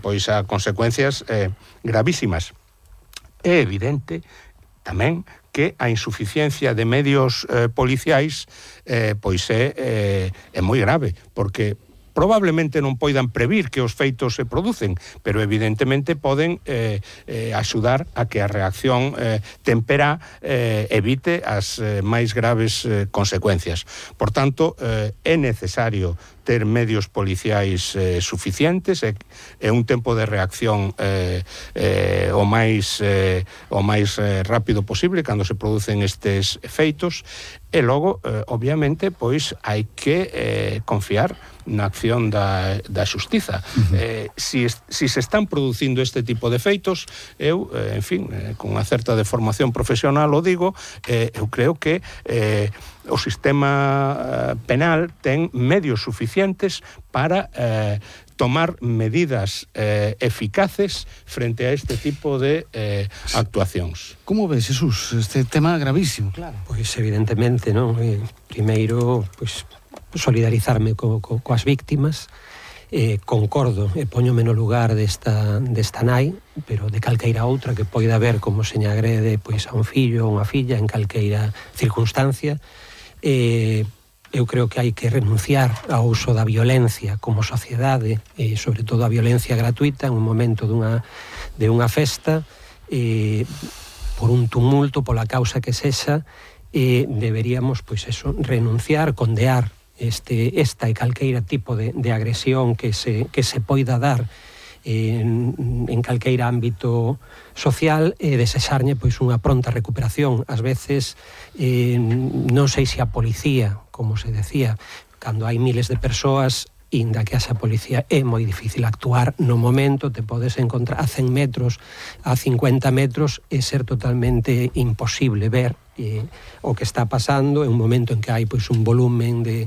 pois a consecuencias gravísimas. É evidente tamén que a insuficiencia de medios policiais pois é moi grave, porque probablemente non poidan previr que os feitos se producen, pero evidentemente poden axudar a que a reacción temperá evite as máis graves consecuencias. Por tanto, é necesario ter medios policiais suficientes e un tempo de reacción o máis rápido posible cando se producen estes feitos, e logo, obviamente, pois hai que confiar na acción da xustiza. Si se están producindo este tipo de feitos, eu, en fin, con unha certa deformación profesional o digo, eu creo que o sistema penal ten medios suficientes para tomar medidas eficaces frente a este tipo de actuacións. Como ves, Jesús, este tema gravísimo? Claro. Pois evidentemente, non? Primeiro, pois solidarizarme coas víctimas, concordo e póñome no lugar desta nai, pero de calqueira outra que poida haber como se lle agrede pois a un fillo ou unha filla en calqueira circunstancia. Eu creo que hai que renunciar ao uso da violencia como sociedade, e sobre todo a violencia gratuita en un momento de unha festa, por un tumulto, pola causa que sexa, deberíamos, pois eso, renunciar, condear esta e calqueira tipo de agresión que se poida dar en calqueira ámbito social, e desexarlle pois unha pronta recuperación. Ás veces non sei se a policía, como se decía, cando hai miles de persoas, inda que haxa policía, é moi difícil actuar no momento. Te podes encontrar a 100 metros, a 50 metros, e ser totalmente imposible ver o que está pasando en un momento en que hai pois un volumen de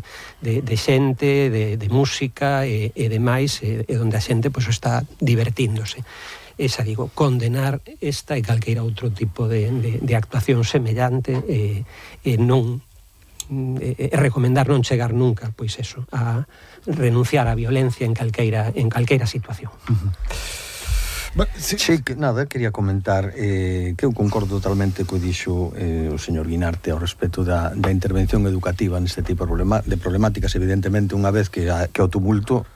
xente, de música e demais, e onde a xente pois está divertíndose. Esa, digo, condenar esta e calqueira outro tipo de actuación semellante, e non recomendar non chegar nunca, pois eso, a renunciar á violencia en calqueira situación. Sí, que nada, quería comentar que eu concordo totalmente co dixo o señor Guinarte ao respecto da intervención educativa neste tipo de problemáticas. Evidentemente, unha vez que o tumulto,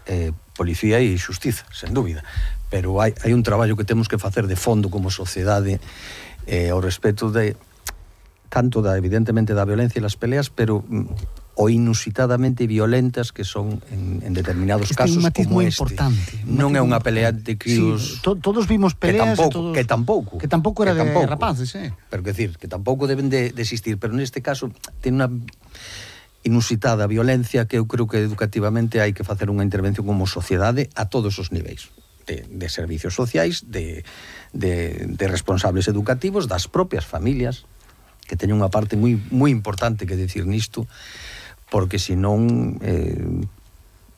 policía e xustiza, sen dúbida, pero hai un traballo que temos que facer de fondo como sociedade ao respecto de tanto evidentemente da violencia e las peleas, pero o inusitadamente violentas que son en determinados casos como este. Importante. Non é unha pelea de críos... Sí, todos vimos peleas que tampouco era de rapaces, Pero que decir, que tampouco deben de existir, pero neste caso ten unha inusitada violencia que eu creo que educativamente hai que facer unha intervención como sociedade a todos os niveis. De servicios sociais, de responsables educativos, das propias familias, que teñen unha parte moi importante que decir nisto, porque senón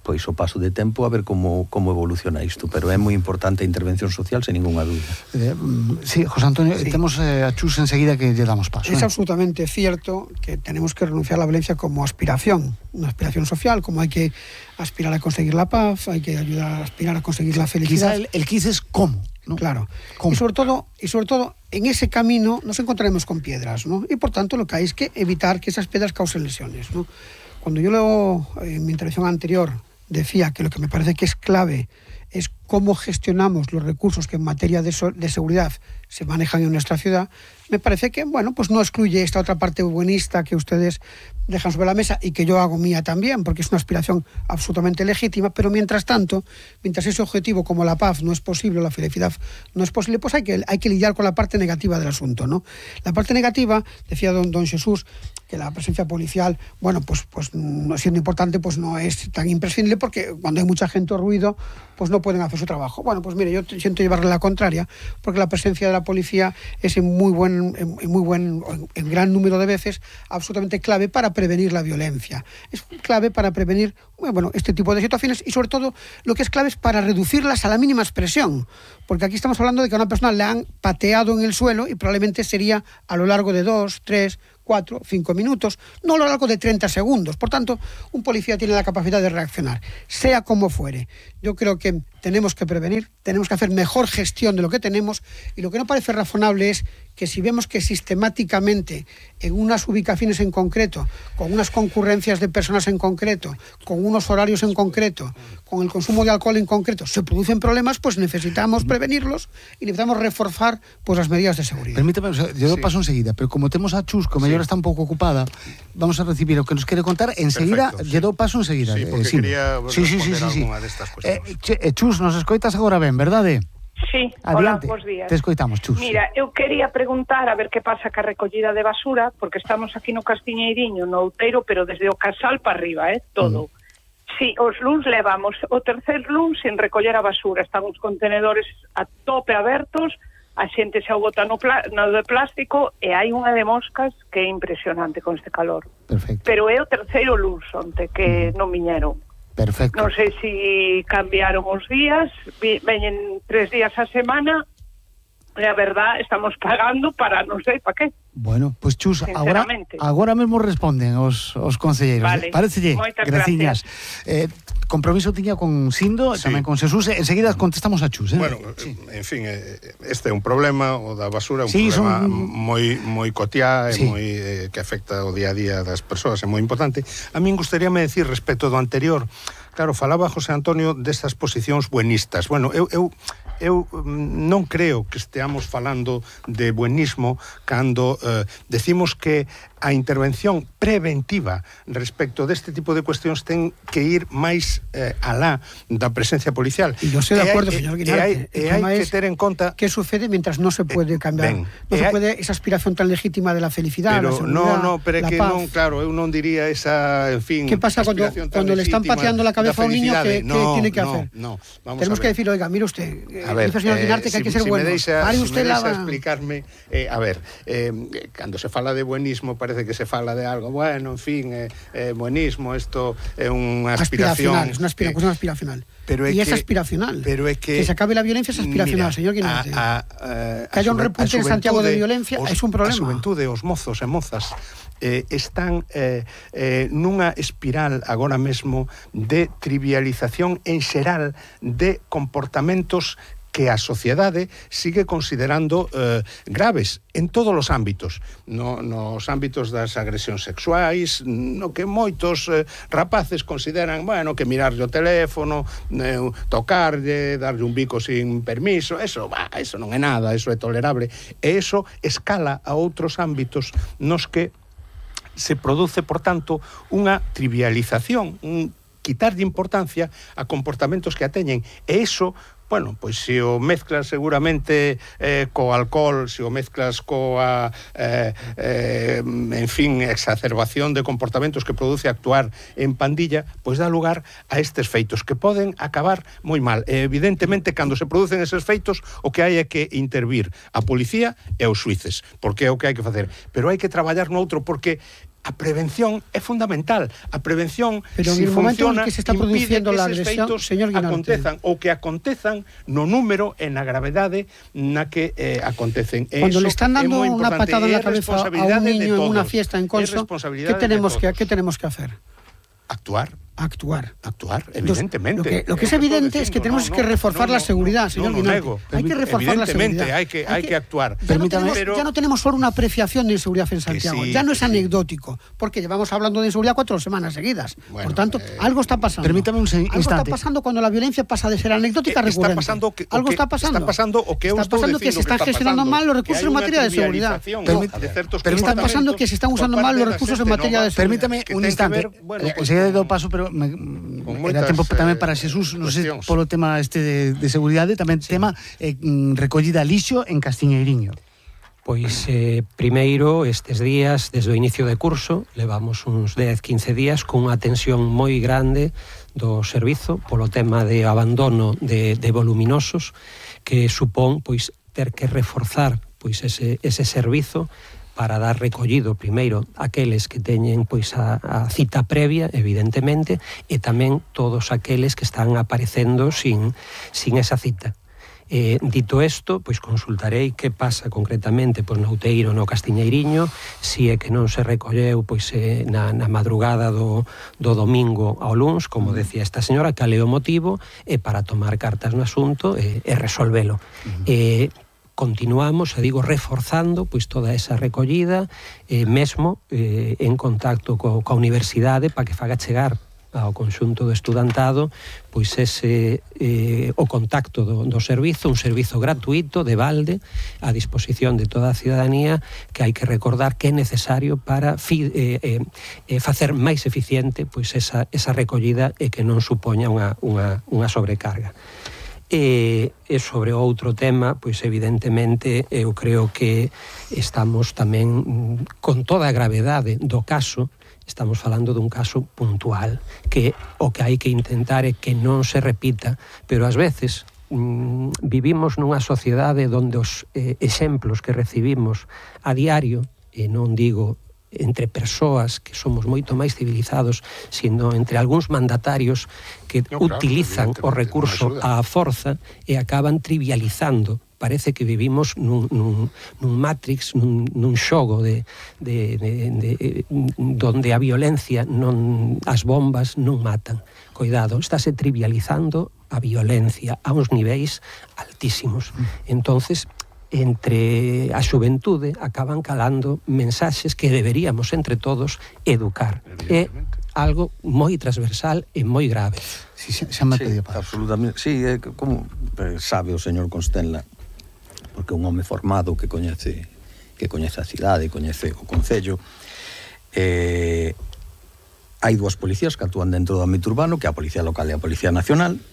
pois o paso de tempo a ver como evoluciona isto, pero é moi importante a intervención social sen ninguna dúbida. Sí, José Antonio, temos a Chus enseguida que lle damos paso. Es absolutamente cierto que tenemos que renunciar a la violencia como aspiración, una aspiración social, como hay que aspirar a conseguir la paz, hay que ayudar a aspirar a conseguir la felicidad. Quizá el quiz es cómo, ¿no? Claro. ¿Cómo? Y sobre todo en ese camino nos encontraremos con piedras, ¿no? Y por tanto lo que hay es que evitar que esas piedras causen lesiones, ¿no? Cuando yo en mi intervención anterior decía que lo que me parece que es clave es cómo gestionamos los recursos que en materia de seguridad se manejan en nuestra ciudad, me parece que, bueno, pues no excluye esta otra parte buenista que ustedes dejan sobre la mesa y que yo hago mía también, porque es una aspiración absolutamente legítima, pero mientras tanto, mientras ese objetivo como la paz no es posible, la felicidad no es posible, pues hay que lidiar con la parte negativa del asunto, ¿no? La parte negativa, decía don Jesús, que la presencia policial, bueno, pues no siendo importante, pues no es tan imprescindible, porque cuando hay mucha gente o ruido, pues no pueden hacer su trabajo. Bueno, pues mire, yo siento llevarle la contraria, porque la presencia de la policía es en gran número de veces absolutamente clave para prevenir la violencia. Es clave para prevenir, bueno, este tipo de situaciones, y sobre todo lo que es clave es para reducirlas a la mínima expresión, porque aquí estamos hablando de que a una persona le han pateado en el suelo y probablemente sería a lo largo de 2, 3, 4, 5 minutos, no a lo largo de 30 segundos. Por tanto, un policía tiene la capacidad de reaccionar, sea como fuere. Yo creo que tenemos que prevenir, tenemos que hacer mejor gestión de lo que tenemos, y lo que no parece razonable es que si vemos que sistemáticamente en unas ubicaciones en concreto, con unas concurrencias de personas en concreto, con unos horarios en concreto, con el consumo de alcohol en concreto, se producen problemas, pues necesitamos prevenirlos y necesitamos reforzar pues las medidas de seguridad. Permítame, yo lo paso enseguida, pero como tenemos a Chus, como ella está un poco ocupada, vamos a recibir lo que nos quiere contar enseguida. Yo lo paso enseguida. Sí, porque quería responder alguna de estas cuestiones. Chus, nos escoitas agora ben, verdade? Sí, adiante. Hola, bons días. Te escoitamos, Chus. Mira, eu quería preguntar a ver que pasa ca recollida de basura, porque estamos aquí no Castiñeiriño, no Outeiro, pero desde o Casal para arriba, todo. Sí, os luns levamos o tercer luns sin recoller a basura, están os contenedores a tope abertos, a xente xa o bota no de plástico, e hai unha de moscas que é impresionante con este calor. Perfecto. Pero é o terceiro luns onte que non viñeron. Perfecto. Non sei se cambiaron os días, veñen 3 días a semana, e a verdad estamos pagando para non sei para que. Bueno, pois Chus, agora mesmo responden os concelleiros. Vale. Parecelle? Moitas graciñas. Compromiso tiña con Sindo, Sí. tamén con Xesús, enseguida contestamos a Chus. Bueno, sí. En fin, este é un problema, o da basura é un Sí, problema son- moi cotiá, Sí. moi que afecta o día a día das persoas, é moi importante. A min gustaríame decir respecto do anterior, claro, falaba José Antonio destas posicións buenistas. Bueno, eu non creo que esteamos falando de buenismo cando decimos que a intervención preventiva respecto deste tipo de cuestións ten que ir máis alá da presencia policial. Y yo estoy de acuerdo, señor Guinarte. E hai que ter en conta ¿Qué sucede mientras no se puede cambiar? ben, No se puede esa aspiración tan legítima de la felicidad, la pero seguridad, pero é la que paz. non, claro, eu non diría esa, en fin, ¿Qué pasa cuando aspiración tan le están legítima pateando la cabeza a un niño? da ¿Qué felicidade? tiene que hacer? No, vamos Tenemos a que ver. decir, oiga, mire usted, A ver, dice el señor Guinarte que hay que ser bueno. Pare usted me la... deixa explicarme, a ver, cando se fala de buenismo parece que se fala de algo, bueno, en fin, buenismo, isto é unha aspiración. Es una cuestión aspiracional. Pero é y es que- aspiracional. pero é que se acabe la violencia es aspiracional, mira, señor Guinarte. que haya un repunte en Santiago de violencia es un problema. A xuventude, os mozos e mozas están nunha espiral agora mesmo de trivialización en xeral de comportamentos que a sociedade sigue considerando graves en todos os ámbitos, nos ámbitos das agresións sexuais, no que moitos rapaces consideran, bueno, que mirarlle o teléfono, tocarlle, darlle un bico sin permiso, eso non é nada, eso é tolerable, e eso escala a outros ámbitos nos que se produce, por tanto, unha trivialización, un quitarlle importancia a comportamentos que a teñen, e iso, bueno, pois se o mezclas seguramente co alcohol, se o mezclas coa en fin, exacerbación de comportamentos que produce actuar en pandilla, pois dá lugar a estes feitos que poden acabar moi mal. Evidentemente, cando se producen eses feitos, o que hai é que intervir a policía e os xuíces, porque é o que hai que facer, pero hai que traballar noutro, porque a prevención é fundamental. A prevención, pero si en el momento en funciona, que se está produciendo la agresión, feitos señor Guinarte, acontezan, ou que acontezan no número e na gravedade na que acontecen. Cuando le están dando una patada en la cabeza a un niño en una fiesta en Conso, ¿qué tenemos que hacer? Actuar, evidentemente. Lo que es evidente es que tenemos que reforzar la seguridad, señor Guinarte. Hay que reforzar la seguridad. Hay que actuar. Ya no tenemos solo una apreciación de inseguridad en Santiago. sí, ya no es sí. anecdótico, porque llevamos hablando de inseguridad 4 semanas seguidas. Bueno, por tanto, algo está pasando. Permítame un Algo está instante. pasando cuando la violencia pasa de ser anecdótica a recurrente. Algo está pasando o que eu está estou pasando que dicindo se están está gestionando pasando, mal los que recursos hai en unha materia de seguridad. trivialización de certos Está pasando que se están usando mal los recursos en materia de seguridad. Permítame que un ten que instante. ver, bueno, pues, Enseguida do paso, pero con era moitas, tempo tamén para Xesús, non sei, cuestións. polo tema de seguridade, tamén tema recollida lixo en Castiñeiriño. Pois, primeiro, estes días, desde o inicio de curso, levamos uns 10-15 días con unha tensión moi grande do servizo polo tema de abandono de voluminosos, que supón, pois, ter que reforzar pois ese servizo para dar recollido primeiro aqueles que teñen pois a cita previa, evidentemente, e tamén todos aqueles que están aparecendo sin esa cita. Dito isto, pois consultarei que pasa concretamente pois, no Outeiro, no Castiñeiriño, si é que non se recolleu pois, na madrugada do domingo ao luns, como decía esta señora, cal é o motivo, e para tomar cartas no asunto e resolvelo. Continuamos, digo, reforzando pois toda esa recollida, mesmo en contacto coa universidade para que faga chegar ao conxunto do estudantado pois ese o contacto do servizo, un servizo gratuito de balde a disposición de toda a ciudadanía, que hai que recordar que é necesario para facer máis eficiente pois esa recollida e que non supoña unha sobrecarga. E sobre outro tema, pois evidentemente eu creo que estamos tamén con toda a gravedade do caso. Estamos falando dun caso puntual, que o que hai que intentar é que non se repita, pero ás veces vivimos nunha sociedade onde os exemplos que recibimos a diario, e non digo entre persoas que somos moito máis civilizados, sino entre algúns mandatarios que utilizan o recurso á forza e acaban trivializando. Parece que vivimos nun Matrix, nun xogo donde a violencia, as bombas non matan. Coidado, estáse trivializando a violencia a uns niveis altísimos. Entonces, entre a xuventude acaban calando mensaxes que deberíamos entre todos educar. É algo moi transversal e moi grave. Sí, absolutamente. Sí, como sabe o señor Constenla, porque é un home formado que coñece a cidade, coñece o concello. Hai dúas policías que actúan dentro do ámbito urbano, que é a Policía Local e a Policía Nacional.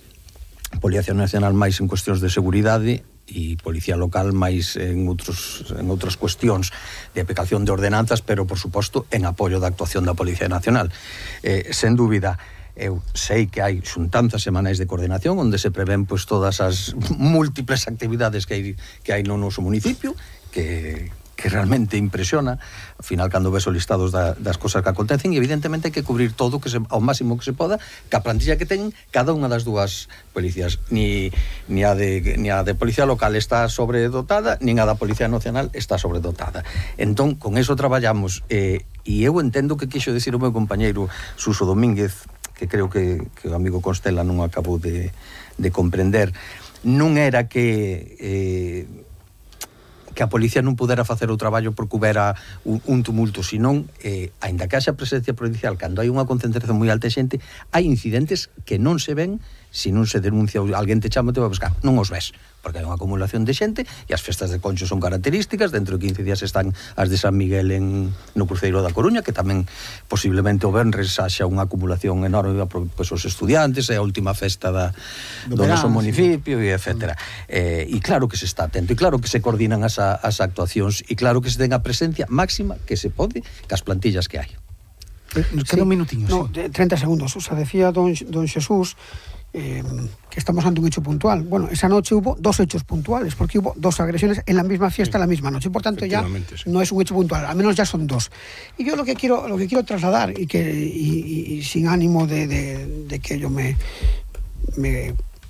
A Policía Nacional máis en cuestións de seguridade e Policía Local máis en outras cuestións de aplicación de ordenanzas, pero, por suposto, en apoio da actuación da Policía Nacional. Sen dúbida, eu sei que hai xuntanzas semanais de coordinación onde se prevén pois todas as múltiples actividades que hai no noso municipio, que realmente impresiona. Ao final, cando ves os listados das cosas que acontecen, e evidentemente hai que cubrir todo ao máximo que se poda, que a plantilla que ten cada unha das dúas policías. Ni a de Policía Local está sobredotada, nin a da Policía Nacional está sobredotada. Entón, con eso traballamos, e eu entendo que quixo decir o meu compañeiro Suso Domínguez, que creo que o amigo Constela non acabou de comprender. Non era que a policía non pudera facer o traballo porque houbera un tumulto, senón, aínda que haxa presencia policial, cando hai unha concentración moi alta de xente, hai incidentes que non se ven se non se denuncia, alguén te chama e te vai a buscar, non os ves, porque hai unha acumulación de xente, e as festas de Concho son características. Dentro de 15 días están as de San Miguel no Cruceiro da Coruña, que tamén posiblemente o venres haxa unha acumulación enorme, pois os estudiantes, é a última festa do noso municipio, e etcétera. E claro que se está atento, e claro que se coordinan as actuacións, e claro que se ten a presencia máxima que se pode cas plantillas que hai. Nos queda un minutiño. No, 30 segundos. O sea, decía don Xesús que estamos ante un hecho puntual. Bueno, esa noche hubo dos hechos puntuales, porque hubo dos agresiones en la misma fiesta, la misma noche. Por tanto, ya no es un hecho puntual, al menos ya son dos. Y yo lo que quiero trasladar, y sin ánimo de que yo me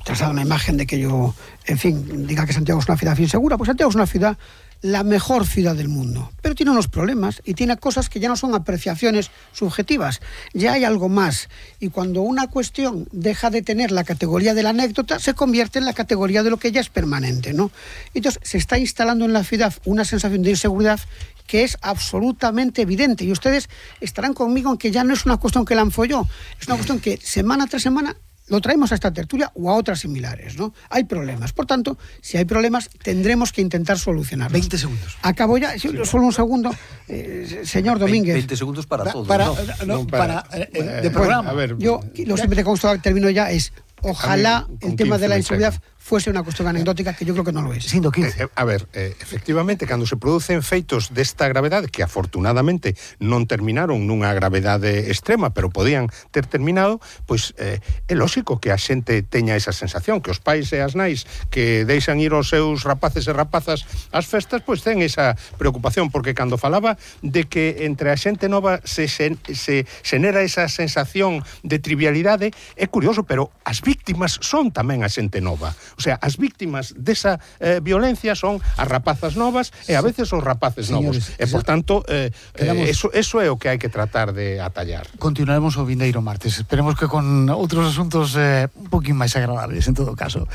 traslade una imagen de que yo, en fin, diga que Santiago es una ciudad insegura, pues Santiago es una ciudad, la mejor ciudad del mundo, pero tiene unos problemas y tiene cosas que ya no son apreciaciones subjetivas, ya hay algo más, y cuando una cuestión deja de tener la categoría de la anécdota, se convierte en la categoría de lo que ya es permanente, ¿no? Entonces se está instalando en la ciudad una sensación de inseguridad que es absolutamente evidente, y ustedes estarán conmigo en que ya no es una cuestión que lanzo yo, es una cuestión que semana tras semana lo traemos a esta tertulia o a otras similares, ¿no? Hay problemas. Por tanto, si hay problemas, tendremos que intentar solucionarlos. 20 segundos. Acabo ya, solo un segundo, señor Domínguez. 20 segundos para todos. De programa. A ver, yo, lo siempre con esto termino ya, es ojalá el tema de la inseguridad fuese una cuestión anecdótica, que yo creo que no lo es. A ver, efectivamente, cando se producen feitos desta gravedade, que afortunadamente non terminaron nunha gravedade extrema, pero podían ter terminado, pois é lógico que a xente teña esa sensación, que os pais e as nais que deixan ir os seus rapaces e rapazas ás festas, pois ten esa preocupación, porque cando falaba de que entre a xente nova se xenera esa sensación de trivialidade, é curioso, pero as víctimas son tamén a xente nova. O sea, as víctimas desa violencia son as rapazas novas e a veces os rapaces novos. E, por tanto, eso é o que hai que tratar de atallar. Continuaremos o vindeiro martes. Esperemos que con outros asuntos un poquín máis agradables, en todo caso.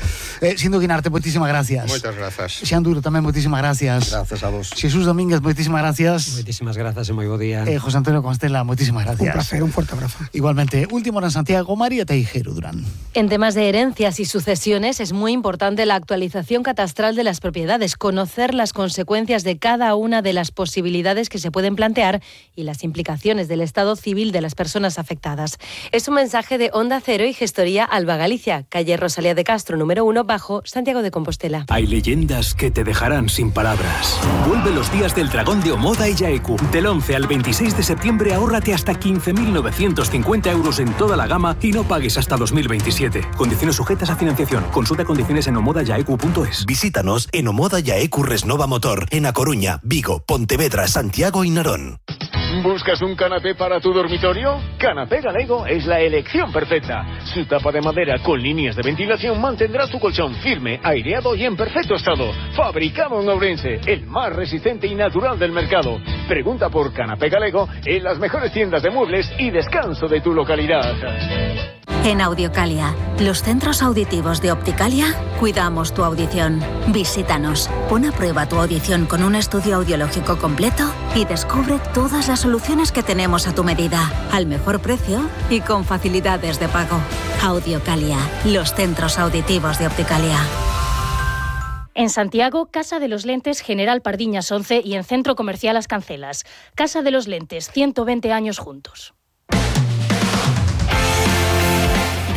Sindo Guinarte, moitísimas gracias. Moitas grazas. Xan Duro, tamén moitísimas gracias. Gracias a vos. Xesús Domínguez, moitísimas gracias. Moitísimas grazas e moi bo día. José Antonio Constela, moitísimas gracias. Un placer, un fuerte abrazo. Igualmente, último en Santiago, María Teijeiro Durán. En temas de herencias y sucesiones es muy importante la actualización catastral de las propiedades, conocer las consecuencias de cada una de las posibilidades que se pueden plantear y las implicaciones del estado civil de las personas afectadas. Es un mensaje de Onda Cero y Gestoría Alba Galicia, calle Rosalía de Castro, número 1, bajo, Santiago de Compostela. Hay leyendas que te dejarán sin palabras. Vuelve los días del dragón de Omoda y Yaeku. Del 11 al 26 de septiembre ahórrate hasta 15.950 euros en toda la gama y no pagues hasta 2027. Condiciones sujetas a financiación. Consulta condiciones en omodayaeku.es. Visítanos en Omoda Yaeku Resnova Motor, en A Coruña, Vigo, Pontevedra, Santiago y Narón. ¿Buscas un canapé para tu dormitorio? Canapé Galego es la elección perfecta. Su tapa de madera con líneas de ventilación mantendrá tu colchón firme, aireado y en perfecto estado. Fabricado en Ourense, el más resistente y natural del mercado. Pregunta por Canapé Galego en las mejores tiendas de muebles y descanso de tu localidad. En Audiocalia, los centros auditivos de Opticalia, cuidamos tu audición. Visítanos, pon a prueba tu audición con un estudio audiológico completo y descubre todas las soluciones que tenemos a tu medida, al mejor precio y con facilidades de pago. Audiocalia, los centros auditivos de Opticalia. En Santiago, Casa de los Lentes General Pardiñas 11 y en Centro Comercial Las Cancelas. Casa de los Lentes, 120 años juntos.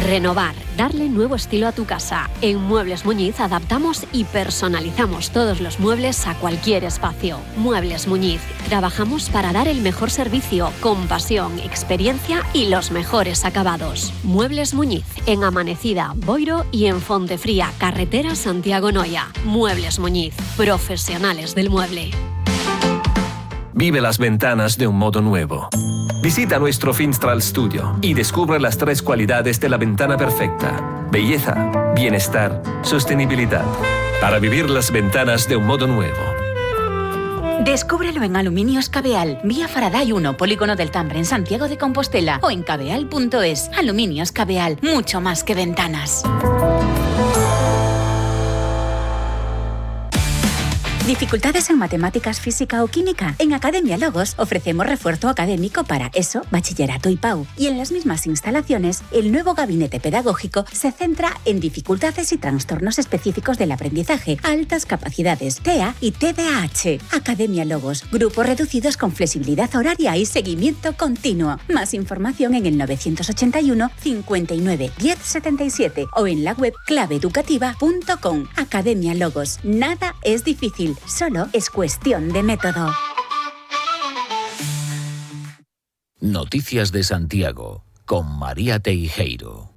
Renovar, darle nuevo estilo a tu casa. En Muebles Muñiz adaptamos y personalizamos todos los muebles a cualquier espacio. Muebles Muñiz, trabajamos para dar el mejor servicio, con pasión, experiencia y los mejores acabados. Muebles Muñiz, en Amanecida, Boiro y en Fontefría, carretera Santiago-Noia. Muebles Muñiz, profesionales del mueble. Vive las ventanas de un modo nuevo. Visita nuestro Finstral Studio y descubre las 3 cualidades de la ventana perfecta: belleza, bienestar, sostenibilidad. Para vivir las ventanas de un modo nuevo. Descúbrelo en Aluminios Cabeal, vía Faraday 1, Polígono del Tambre, en Santiago de Compostela, o en cabeal.es. Aluminios Cabeal, mucho más que ventanas. ¿Dificultades en matemáticas, física o química? En Academia Logos ofrecemos refuerzo académico para ESO, bachillerato y PAU. Y en las mismas instalaciones, el nuevo gabinete pedagógico se centra en dificultades y trastornos específicos del aprendizaje, altas capacidades, TEA y TDAH. Academia Logos, grupos reducidos con flexibilidad horaria y seguimiento continuo. Más información en el 981 59 10 77 o en la web claveeducativa.com. Academia Logos, nada es difícil. Solo es cuestión de método. Noticias de Santiago, con María Teijeiro.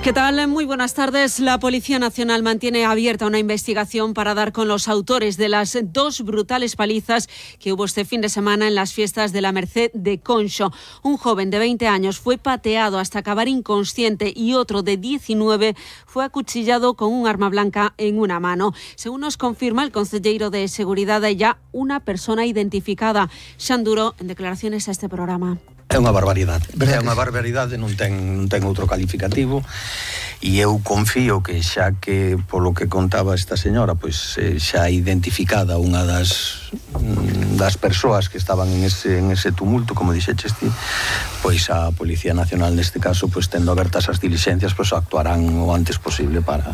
¿Qué tal? Muy buenas tardes. La Policía Nacional mantiene abierta una investigación para dar con los autores de las 2 brutales palizas que hubo este fin de semana en las fiestas de la Merced de Conxo. Un joven de 20 años fue pateado hasta acabar inconsciente y otro de 19 fue acuchillado con un arma blanca en una mano. Según nos confirma el consejero de Seguridad, hay ya una persona identificada. Xan Duro, en declaraciones a este programa. É unha barbaridade, non ten outro calificativo, e eu confío que xa que polo que contaba esta señora, pois xa identificada unha das persoas que estaban en ese tumulto, como dixeches ti, pois a Policía Nacional neste caso, pois tendo abertas as diligencias, pois actuarán o antes posible para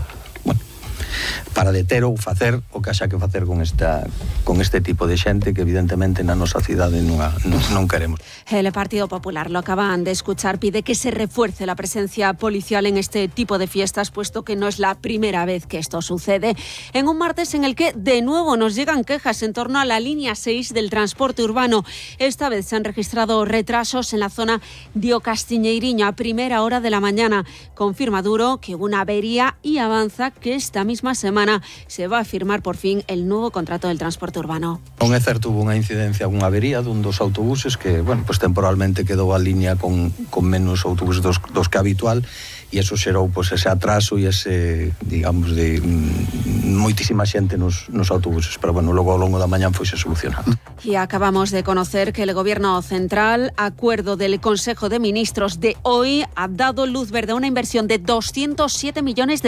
deter ou facer o que haxa que facer con este tipo de xente que evidentemente na nosa cidade non queremos. El Partido Popular, lo acaban de escuchar, pide que se refuerce la presencia policial en este tipo de fiestas, puesto que no es la primera vez que esto sucede. En un martes en el que de nuevo nos llegan quejas en torno a la línea 6 del transporte urbano. Esta vez se han registrado retrasos en la zona de O Castiñeiriño a primera hora de la mañana. Confirma Duro que hubo una avería y avanza que esta misma semana se va a firmar por fin el nuevo contrato del transporte urbano. Non é certo, hubo unha incidencia, unha avería dun dos autobuses que, temporalmente quedou a línea con menos autobuses dos que habitual, e eso xerou pois, ese atraso e ese, digamos, de moitísima xente nos autobuses, pero bueno, logo ao longo da mañán foise solucionando. Y acabamos de conocer que el Gobierno Central, acuerdo del Consejo de Ministros de hoy, ha dado luz verde a una inversión de 207 millones de euros